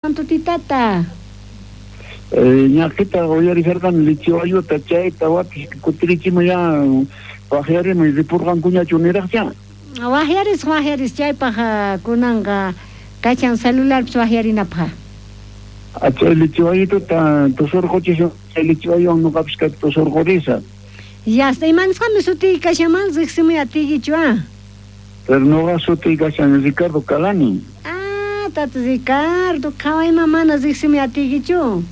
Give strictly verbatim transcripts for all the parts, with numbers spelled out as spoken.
Tutitata. Ñaqita uyarisharqani lichiwayuta chayta watis kutirichimuy ya waqyarimuy ripurqankuñachu niraqcha. Waqyaris waqyaris chaypaq kunanqa kachan celularpis waqyarinapaq. Chay lichiwayituta tusurquchisun chay lichiwayuwan nuqapis kaypi tusurqurisa. Yasta imanisqami sutiy kashanman riqsimuy atiykichu ah. Pero nuqa sutiy kashan Ricardo Calani. Ah, tata Ricardo, qhawayman mana riqsimuy atiykichu.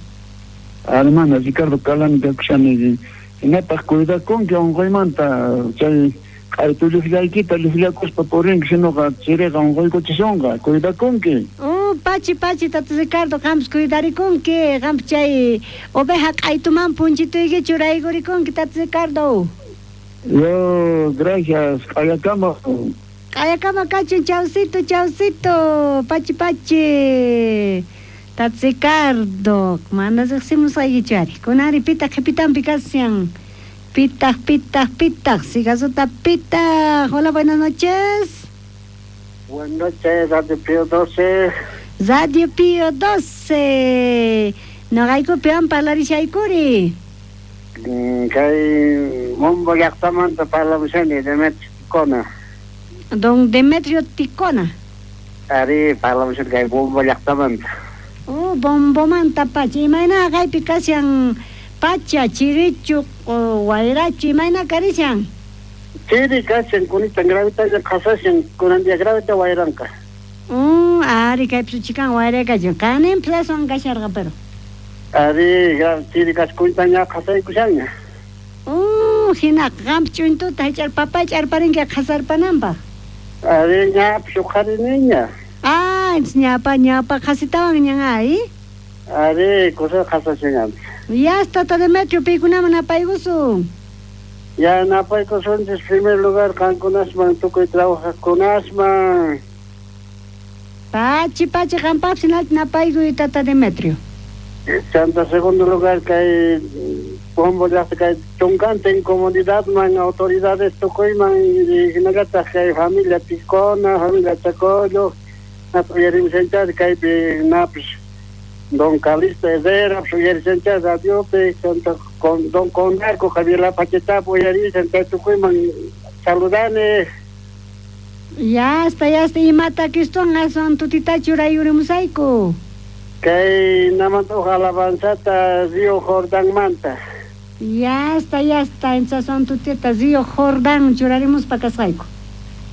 Hermana Ricardo Calani kakushani hinataq cuidakunki unquymanta chay q'aytu lluqllaykita lluqllakuspa purinki sinuqa chiriqa unquykuchisunqa cuidakunki. Oh, pachi pachi tata Ricardo qampis cuidarikunki qampis chay oveja q'aytuman punchituyki churaykurikunki tata Ricardo. Yo, gracias, q'ayakama. Q'ayakama kachun chawsito chawsito pachi pachi. Tata Ricardo, mana riqsimusqaykichu ari. Kunari pitaq qhipitanpi kashan. Pitaq, pitaq, pitaq, sigasuta pitaq. Hola, buenas noches. Buenas noches, Radio Pío doce. Radio Pío doce. Noqaykupi an parlarishaykkuri. Kay Bombo llaqtamanta parlamushani, Demetrio Ticona. Don Demetrio Ticona. Ari, parlamushani kay Bombo llaqtamanta. Oh, bombomanta pacha. Imayna kaypi kashan pacha, chirichu, wayrachu, imayna karishan? Chiri kashan, kunitan gravitayan qasashan, kunan día gravita wayranqa. Oh, ari kaypi suchikan wayra kashan. Qanin plazowan kasharqa pero. Ari, chiri kashan kunitan ña qasaykushanña. Oh, hina qampi ch'untuta hich'ar papay ch'arparinki qasarpananpaq. Ari, ñapis uqhariniña. Ah, ñapa ñapa qhasitawan ñan ay. Ari, kusa qhasashan. Ya está, tata Demetrio, paykunaman napaykusun. Ya napaykusunchis primer lugar qankunasman tukuy trabajaqkunasman. Pachi pachi qampapis hinalta napaykuy tata Demetrio. Chanta segundo lugar kay Bombo llaqta kay chunkantin comunidadman autoridades tukuyman hinallataq kay familia Ticona, familia Chacollo, uyarimshanchari kaypi napis Don Calixto Herrera, uyarishanchari radiopi, chanta con Don Conarco, Javier Lapachetapi uyarishan chay tukuyman saludani. Ya está, ya está, imata kiston aswan tutita churayurimusayku. Kay namanta uj alabanzata Río Jordánmanta. Ya está, ya está, aswan tutita Río Jordán churarimuspa kasqayku.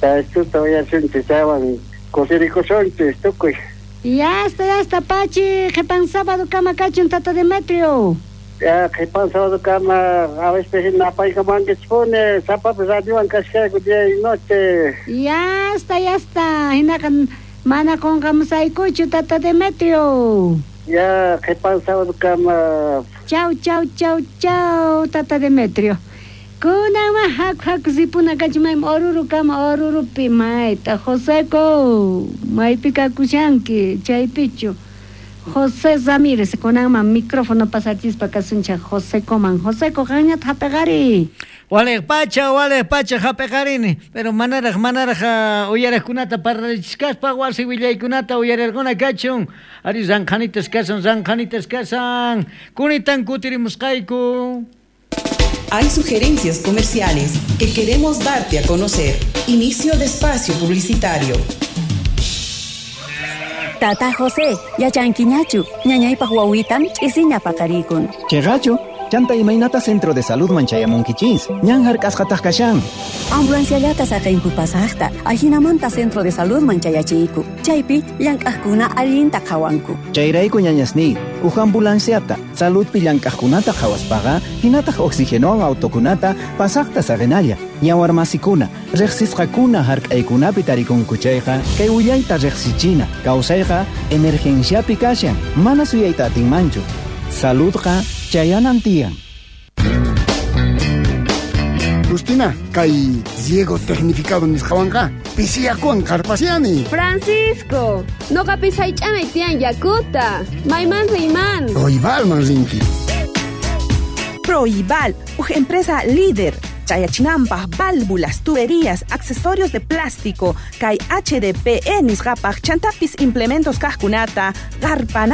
Chaychuta uyarishunchis chaywan kusirikusunchis tukuy. Ya está, ya está, pachi, qhipan sábado kama kachun tata Demetrio. Ya, qhipan sábado kama, a veces napaykamankichpuni, sapapi radiowan kashkayku día y noche. Ya está, ya está, hinaqa mana qunqamusaykuchu tata Demetrio. Ya, qhipan sábado kama. Chau, chau, chau, chau, tata Demetrio. Kunanma haku haku ripuna kachun maymi Oruro kama Orurupi mayta Joseco maypi kakushanki chaypichu José Ramírez kunanman micrófono pasachispa kasunchaq Josecoman. Joseco qanñata hap'iqari. Waliq pacha, waliq pacha hap'iqarini, pero manaraq manaraq uh, uyariqkunata parlarichkaspa wasi willaykunata uyarirquna kachun. Ari ranqhanitas kasan, ranqhanitas kasan. Kunitan kutirimusqayku. Hay sugerencias comerciales que queremos darte a conocer. Inicio de espacio publicitario. Tata José, yachankiñachu, ñañaypaq wawitan ch'isiña paqarikun. Chayrachu, chanta imaynata centro de salud man chayamunkichis, ñan hark'asqataq kashan. Ambulanciallata saqinku pasaqta, ajinamanta centro de salud man chayachiyku. Chaypi llank'aqkuna allinta qhawanku. Chayrayku ñañasniy, uj ambulanciata, saludpi llank'aqkunata qhawaspaqa, hinataq oxigenowan autokunata pasaqta saqinalla. Yawarmasikuna, riqsisqakuna hark'aykunapi tarikunku chayqa, kay willayta riqsichina, kawsayqa emergenciapi kashan, mana suyayta atinmanchu. Saludqa chayanan tiyan. Justina, kay riego tecnificado nisqawanqa pisiyakuwan qarpasiani. Francisco, noqapis haych'anay tiyan yakuta. Mayman riyman. Proibalman rinki. Proibal, uj empresa líder. Chayachinanpaj válvulas, tuberías, accesorios de plástico, kay H D P E nisqapaj chantapis implementos kajkunata qarpana